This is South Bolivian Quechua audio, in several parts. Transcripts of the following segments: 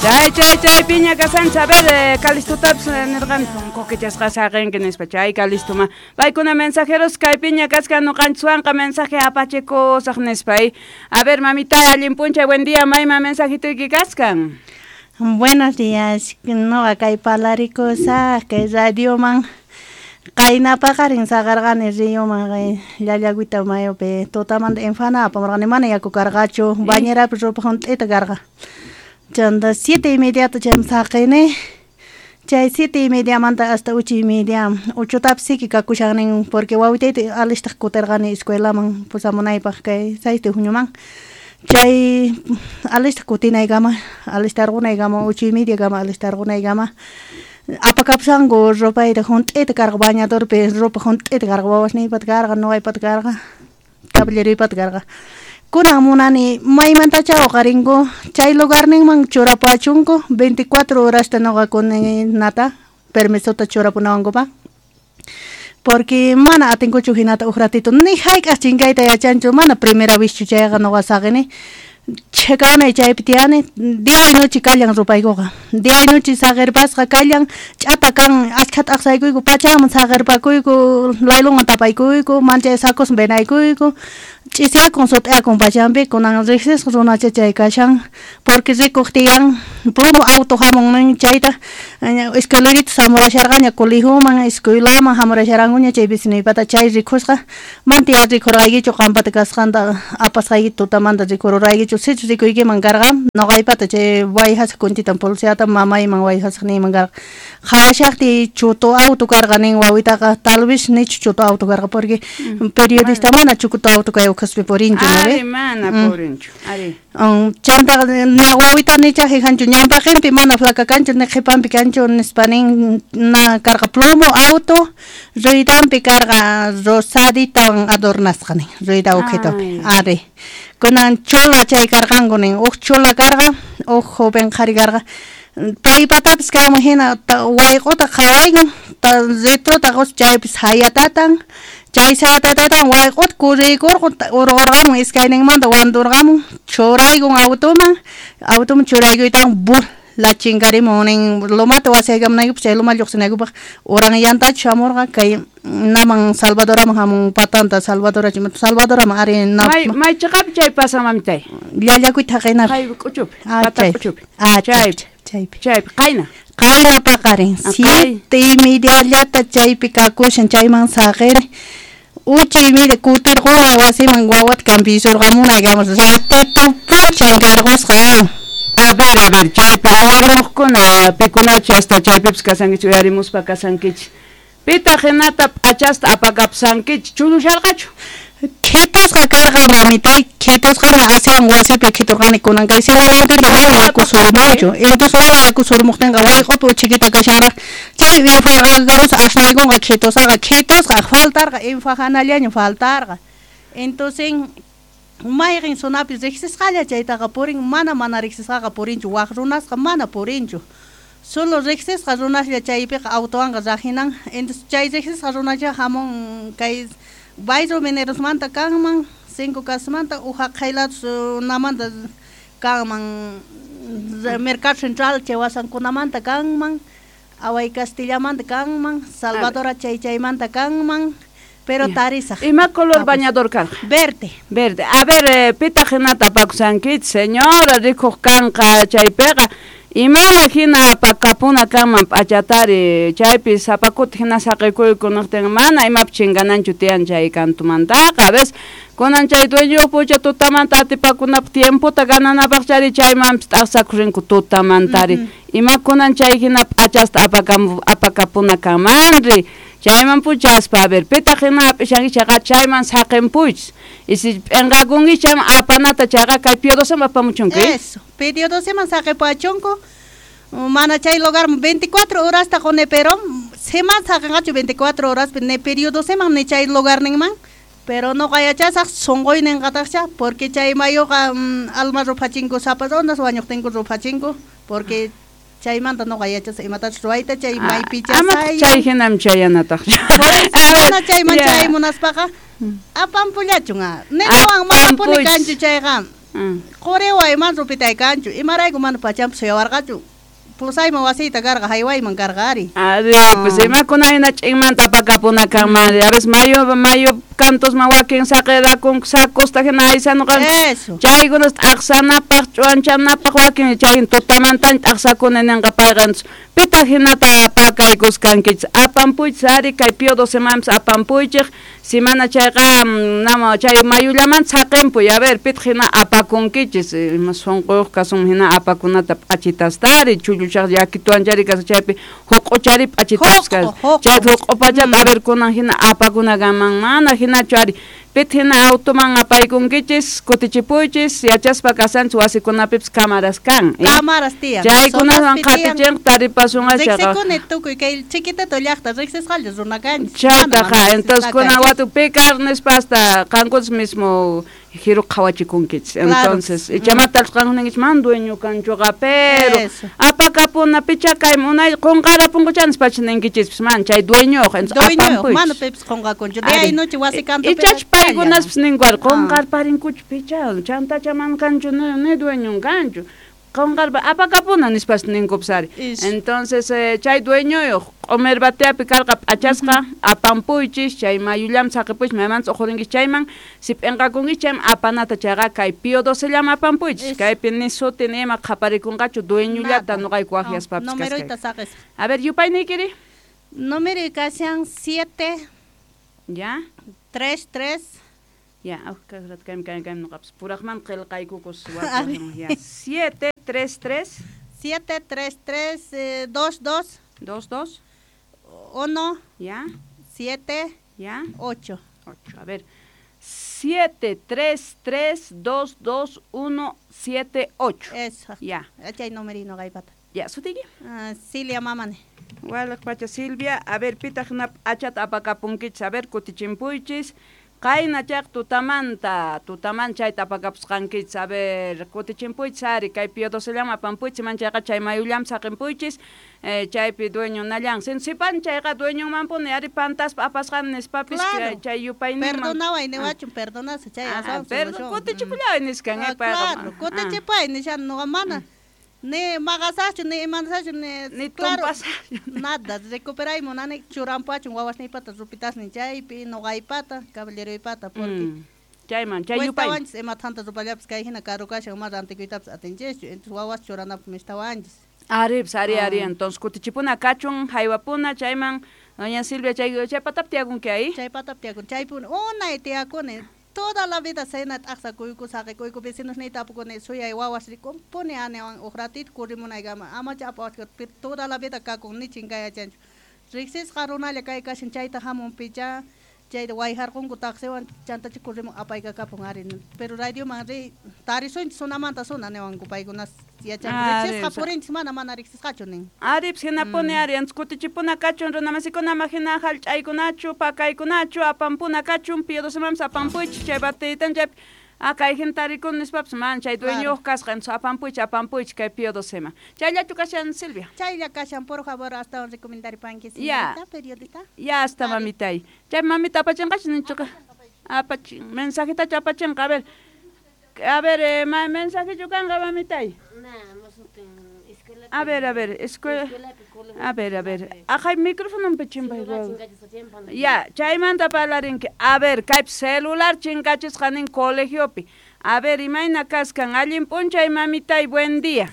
Chay chay chay piña kasanchis. A ver, Calistotapis nirqani punkukichasqa saqinki nispa. Chay Calistoma. Paykuna mensajeros kay piña kaskan ñuqanchiswanqa mensaje apachikusaq nispa. A ver, mamita, allin p'unchay, buen día, mayman mensajituyki kaskan. Buenos días, noqa kay palarikusaq kay radioman. Qayna paqarin saqarqani ríoman Llallagüita mayupi tutamanta infana apamurqani mana yaku karqachu, bañerapi ropa junt'ita karqa. Chanta 7:30 chayman saqini, chay 7:30manta hasta 8:30 ochotapis siki kakushannin porque wawitayta alistaq kutirqani escuelaman pusamunaypaq kay 6 de junioman. Chay alistaq kutinaykama, alistarqunaykama 8:30kama alistarqunaykama apakapushanku ropayta junt'ita karqa bañadorpi ropa junt'ita karqa wawasniypata karqa nuqaypata karqa caballeroypata karqa. Kunan munani maymantacha uqarinku chay lugarninman churapuwachunku 24 horasta nuqa kuninata permisota churapunawankupaq. Porque mana atinkuchu hinata uj ratito ni hayk'aq chinkayta yachanchu mana primera vez chu chayqa nuqa saqini. Chhikawnay chaypi tiyani día y noche kallan rupaykuqa día y noche saqirpasqa kallan ch'ata kan ashkha t'aqsaykuyku pachaman saqirpakuyku laylunwan tapaykuyku manchay sacosman venaykuyku ch'isiyakun sut'iyakun pachampi kunan riqsisqa runacha chay kashan porque rikuq tiyan plomo auto hamun nin chayta escalerita hamurasharqaña colegioman escuelaman hamurasharankuña chay vecinuypata chay rikusqa mantiya rikurqaykichu qampata kasqanta apasqaykita tutamanta rikururaykichu sichus rikuykiman karqa nuqaypata chay wayhasaq kunchitan policiyata mamayman wayhasaq niyman karqa qhawashaqtiy chuto auto karqa nin wawitaqa tal vez nichu chuto auto karqa porque periodista mana chuto auto kay ukhaspi purinchu ari mana purinchu ari chantaqa na wawita nicha hijanchu ñanpaqinpi mana flaca kanchu ni qhipanpi kanchu nispa nin na karqa plomo auto ruidanpi karqa rosaditawan adornasqa nin ruida ukhitupi ari kunan chola chay karqanku nin uj chola karqa uj joven qhari karqa paypatapis kanman hina wayq'uta qhawaykun retrota qus chaypis hayatatan chay sayatatatan wayq'uta kuriykurqun urqurqamun iskayninmanta wanturqamun churaykun automan automan churaykuytawan bur la chinkarimun nin lomata wasiykamunaykupaq chay loma lluqsinaykupaq uran yantachu shamurqa kay naman Salvadoraman hamun patanta Salvadorachu Salvadoraman ari may chiqapi chay pasan mamitay Llallakuyta haqinapi kay k'uchupi pata k'uchupi chaypi chaypi chaypi qayna qayna paqarin 7:30llata chaypi kakushan chayman saqiri 8:30 kutirquni wasiman wawata cambisurqamunaykama ratito punchankarqusqa. A ver, chaypi awarmuqkuna pikunachu hasta chaypipis kasankichik uyarimuspa kasankichik pitaq hinata p'achasta apakapsankichik chulusharqachu Khitusqa karqa mamitay khitusqana asiwan wasipi khiturqani kunan kay semanantinta mana yaku surmunchu entonces mana yaku surmuqtinqa wayq'upi uchikita kashanraq chay infagarus asnaykunqa khitusqaqa khitusqa faltarqa infajanallaña faltarqa entonces mayqin zonapi riqsisqalla chaytaqa purin mana mana riqsisqaqa purinchu waq runasqa mana purinchu solo riqsisqa runaslla chaypiqa autowanqa rajinan entonces chay riqsisqa runacha hamun kay Bayro Minerosmanta kanman 5 casmanta ujaqhaylatus namanta kanman Mercado Central chay wasankunamanta kanman Away Castillamanta kanman Salvadora chay chaymanta kanman pero tarisaq. Ima color bañador karqa? Verde. Verde. A ver, pitaq hinata apakusankichik señora rikuq kanqa chaypiqa imana hina apakapuna kanman p'achatari chaypi sapakuta hina saqikuyku niqtin mana imapi chinkananchu tiyan chay kantumantaqa a veces kunan chay dueño pucha tutamanta atipakunapaq tiempota gananapaq chari chaymanpis t'aqsakurinku tutamantari ima kunan chay hina p'achasta apakapuna kanmanri chayman puchaspa a ver pitaq hina hap'ishankichik chayqa chayman saqinpuychis y si p'inqakunkichik chayman apanata chayqa kay Pío XII apamuchunki. Eso, Pío XII saqipuwachunku mana chay lugar 24 horasta quni pero seman saqinqachu 24 horaspi ni Pío XII ni chay lugarninman pero nuqa yachasaq sunquyninqataqcha porque chay mayuqa alma ruphachinku sapa runas wañuqtinku ruphachinku porque chaymanta nuqa yachasaq imatachus ruwayta chay maypicha ama chay hinam chayanataq mana chayman chaymunaspaqa apampullachun ninawan manapuni kanchu chayqa Quriway man rupitay kanchu, imarayku mana pachampi suyawarqachu. Pusayman wasiyta karqa, haywayman karqa ari. Ari, pues imakuna hina ch'inmanta apakapuna kanman. A veces mayu cantusman wakin saqirakunku sakusta hina aysanuqanku. Chaykunas t'aqsanapaq, ch'uwanchanapaq wakin chay tutamantaña t'aqsakuna ninqa payqa. Pitaq hinata pakaykuskankichis. Apampuychis ari kay Pío XII apampuychik. Si mana chayqa nama chay mayullamanta saqinpuy. A ver, pitaq hina apakunkichis. Ima sunquyuq kasun hina apakunata p'achitastari chulluchaq llakituanchari kasqa chaypi huq'uchari p'achitas kasqa. Chay huq'upachata a ver kunan hina apakuna kanman mana hinachu ari. Pitaq hina automan apaykunkichis kutichipuychis yachaspa kasanchis wasikunapipis cámaras kan. Cámaras tiyan. Chaykunawan qatichinqa taripasunqa chayqa. Riqsikuni tukuy kay chiquitito llaqta riqsisqalla runa kanchis. Chaytaqa entonces kunan watu picar nispa hasta qankunas mismo jiru qhawachikunkichis. Entonces ichamata qankuninkichis man dueño kanchuqa pero apakapuna picha kay munay qunqarapunkucha nispacha ninkichispis man chay dueñoq entonces apampuychis. Mana pipis qunqakunchu. De ahí noche wasi kantupi. Ichach paykunaspis ninku ari qunqarparinkuchu picha chantacha man kanchu ni dueñon kanchu. Qunqarpa apakapuna nispas ninkupis ari. Entonces chay dueñoyuq q'umir bateapi karqa p'achasqa apampuychis chay mayullam saqipuychis maymanta uqhurinkichis chayman si p'inqakunkichis chayman apanata chayqa kay Pío XII llaman apampuychis kaypi ni suti ni ima qhaparikunqachu dueñullata nuqayku waqyaspapis kasqayku. A ver, yupayniykiri. Número kashan 7 ya 3 3 ya, kay nuqapis puraqman qillqaykukus ya 7 3 3 7 3 3 2 2 2 2 1 ya 7 ya 8 8. A ver, 7 3 3 2 2 1 7 8. Eso. Ya. Chay numerino kaypata. Ya, sutiki. Silvia mamani. Walaq pacha Silvia, a ver pitaq hina p'achata apakapunkichis, a ver kutichimpuychis. Qayna chaq tutamanta, tutaman chayta apakapusqankichis, a ver kutichimpuychis ari kay Pío XII llaman apampuychis, man chayqa chay mayullam saqinpuychis, chaypi dueño nallan. Sipan chayqa dueñonmanpuni ari pantaspa apasqan nispapis chay yupayninman. Perdonaway niwachun, perdonasa chay aswan. Perdón, kutichipullaway niskan payqa. Claro, kutichipay nishan nuqa mana. Ni maqasachu, ni imansachu, ni claro, nada, recuperay munani churampachun wawasniypata rupitasnin chaypi, nuqaypata, caballeroypata, porque chayman, chay yupay. Cuestawanchis ima thanta rupallapis kay hina karu kashan ma rantikuytapis atinchischu, entonces wawas churanapis mistawanchis. Ari, ari, ari, entonces kutichipuna kachun, haywapuna, chayman, doña Silvia, chay chaypatap tiyakunki ahí. Chaypatap tiyakun, chaypuni, unay tiyakuni. Toda la vida cena t'aqsakuyku saqikuyku vecinos ni tapukuni suyay wawas rikumpuni aniwan uj ratito kurrimunaykama amacha apawachka toda la vida kakun ni chinkayachanchu riqsisqa runalla kay kashan chayta hamun picha chayta wayharqunku taxiwan chantacha kurrimun apaykakapun ari pero radioman riy tarisunchis sunamanta suna niwanku paykunas yachanku riqsisqa purinchis mana mana riqsisqachu nin. Ari, pues hinapuni ari, antes kutichipuna kachun runamasikuna hina hallch'aykunachu pakaykunachu apampuna kachun Pío XII apampuychis chay batiytan chaypi kay hina tarikuni nispapis man chay dueñoyuq kasqa entonces apampuychis apampuychis kay Pío XII. Chayllachu kashan Silvia. Chaylla kashan, por favor, astawan recomendaripanki señorita periodista. Ya hasta mamitay. Chay mamita apachinqachu ninchuqa. Apachin mensajitachu apachinqa, a ver. A ver, mensajechu kanqa mamitay. A ver, escuela. A ver. Ajay, micrófono pichimpay. Ya, chaymanta parlarinki. A ver, kaypi celular chinkachisqa nin colegiopi. A ver, imayna kaskan allin p'unchay mamitay, buen día.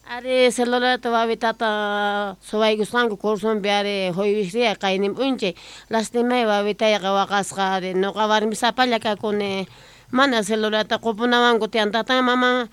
Ari celularta wawitata suwaykusqanku cursunpi ari huywisriya qaynin p'unchay lastimay wawitayqa waqasqa ari nuqa warmisapalla kakuni mana celularta qupunawanku tiyan tatan maman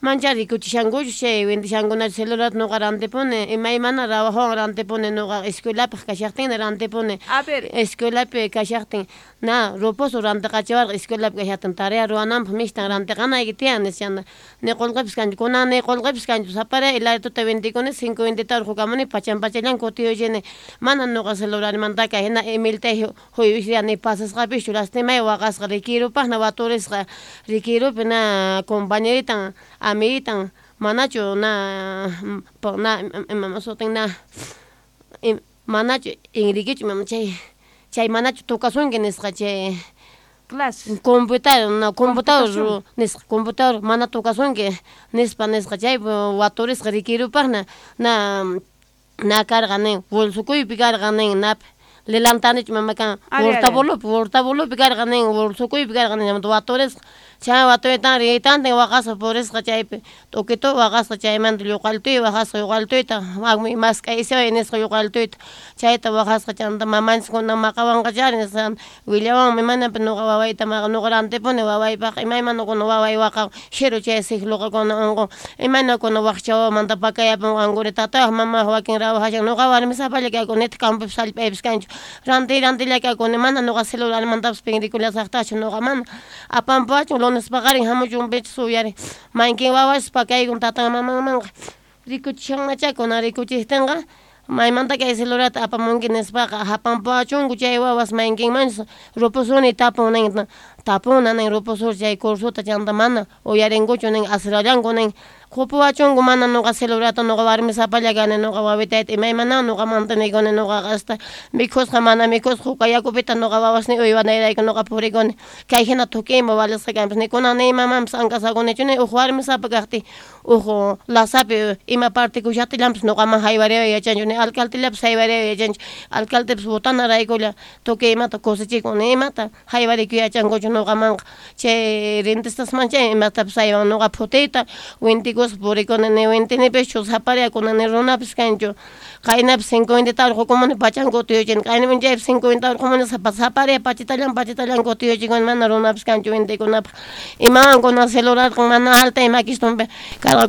mancha rikuchishankuchu chay windishankunachu celularta nuqa rantipuni imaymana trabajowan rantipuni nuqa escuelapaq kashaqtinna rantipuni. A ver, escuelapi kashaqtin na rupusu rantiqachiwarqa escuelapi kashaqtin tarea ruwananpaq mishtan rantiqanayki tiyan nishana ni qullqipis kanchu kunan ni qullqipis kanchu sapara hilarituta vendikuni 5 vendita urqukamuni pachan pachallan kutiyuchini mana nuqa celularmantaka hina emailta huywisriya ni pasasqapischu lastimay waqasqa rikirupaqna waturisqa rikirupi na compañeritan amiguitan manachu na na imama sutin na manachu Enriquechu imama chay manachu tukasunki nisqa chay Clases. Computador, no, computador nisqa, computador mana tokasunki nispa nisqa chay waturisqa rikirupaqna na na karqa nin bolsukuypi karqa nin napi lilantanichu mama kan hurtabulupi karqa nin bolsukuypi karqa nin waturisqa chay watuytan riytantin waqasqa purisqa chaypi t'ukitu waqasqa chaymanta lluqaltuy waqasqa lluqaltuyta mask'aysiway nisqa lluqaltuyta chayta waqasqa chanta mamanchis kunan maqawanqachari nisqa willawanmi manapi nuqa wawayta nuqa rantipuni wawaypaq imaymana kuna waway waqan xiru chay sikluqa kuna unqun imayna kuna waqcha wawamanta pakayapunqankuri tatayuq mamayuq wakin rawajashan nuqa warmisapalla kakuni nitaq campopis hallp'aypis kanchu rantiy rantilla kakuni mana nuqa celularmantapis pinrikullasaqtachu nuqa mana apanpuwachun lunes paqarin hamuchun pichus uyari maykin wawas pakaykun tatan mamanmanqa rikuchishanmachá kunan rikuchiktinqa maymanta kay celularta apamunki nispaqa hapanpuwachunku chay wawas maykinmanchus rupusuni tapun nin tapuna nin rupusur chay cursuta chanta mana uyarinkuchu nin asirallanku nin qupuwachunku mana nuqa celularta nuqa warmisapalla kani nuqa wawitayta imaymana nuqa mantenikuni nuqaqa hasta mikhusqa mana mikhusqa huka yakupita nuqa wawasniy uywanayrayku nuqa purikuni kay hina tukuy ima valisqa kanpis ni kunan ni imamanpis ankasakunichu ni uj warmisapa kaqtiy uj lasapi ima partikushaqtillanpis nuqaman haywariway yachanchu ni alcaldellapis haywariway yachanchu alcaldepis votanaraykulla tukuy imata kusichikun ni imata haywarikuy yachankuchu nuqamanqa chay rentistasman chay imatapis haywan nuqa phutiyta wintikuspa purikuni ni wintinipischu sapariyakuna ni runapis kanchu qaynapis 50 urqukumuni pachan kutiyuchini qayna p'unchaypis 50 urqumuni sapariya pachitallan pachitallan kutiyuchikuni mana runapis kanchu wintikunapaq imawan kunan celularqa mana alta makistunpi karqa.